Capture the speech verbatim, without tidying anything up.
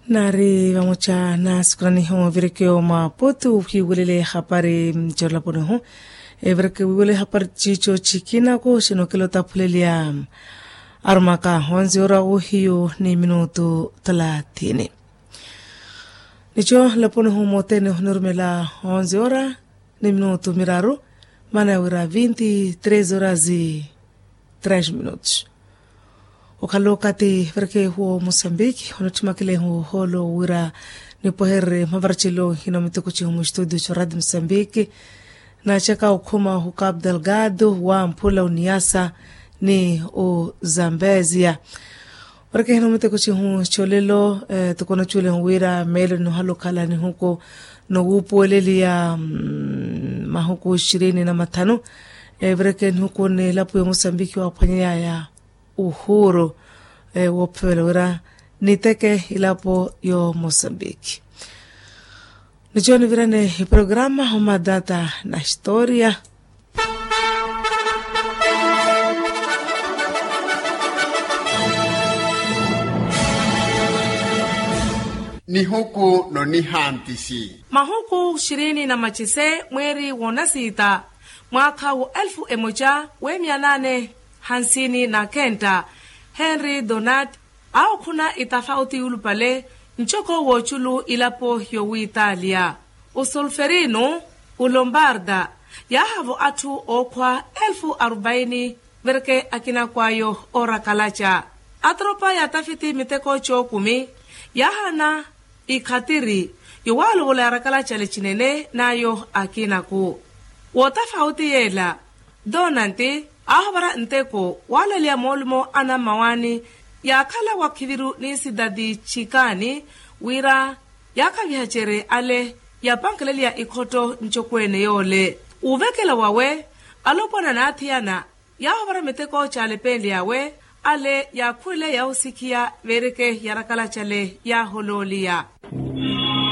Naari vamoca na sikuraniho vireke yo maputu hiwelele hapari. Corlaponiho evireke wiwele hapari cico cikinaku sinokela otaphulelia arumaka onze ora uhiyu ni minutu thalathini. Nico laponiho motene hunirumela onze ora ni minutu miraru, mana ya wira vinti tres horas e tres minutos. Okhala okathi vireke huwo mosambiki onottimakelehu holo wira nipwehererye mavaracelo hino miteko cihu mu studio co radio mosambiki. Naacaka okhuma hu capo delgado wa mphula oniyasa ni ozambezia. Varekehena omiteko cihu colelo toko naculehu wira meelo ninohala okhala nihuku nowuupuweleliya mahuku ishirini na mathanu. Varekehe nihuku ni elapo ya mosambiki waaphwanyeyaya uhuru woophevela wira niteke elapo ya mosambiki. Nico nivirane iprograma omadata na historia. Nihuku nonihantisi mahuku ishirini na macise mweeri wonasiita mwaakha wa elfu emoca w'emiya naane hansini na kenta. Henri donat awo khuna itafauti yulupale ncoko w'oculu ilapo yowiitalia osolferino olombarda yaahavo atthu ookhwa elfu aruvaini. Vereke akinaku ayo oorakalaca atropa yaatafiti miteko cookumi yaahana ikhatiri yowalovola yarakalaca lecinene n'ayo akinaku wootafauti yeela donanti aahovara nteko waalaleya moolumo anammawaani yaakhala wakhiviru ni sidadi chikaani wira yaakhaviha cere ale yapankeleliya ikhotto ncokweene yoole. Uuvekela wawe alopwana n'athiyana yaahovara miteko caalepenlyawe ale yaakhuwele yaahusikhiya veereke yarakala cale yaaholooliya.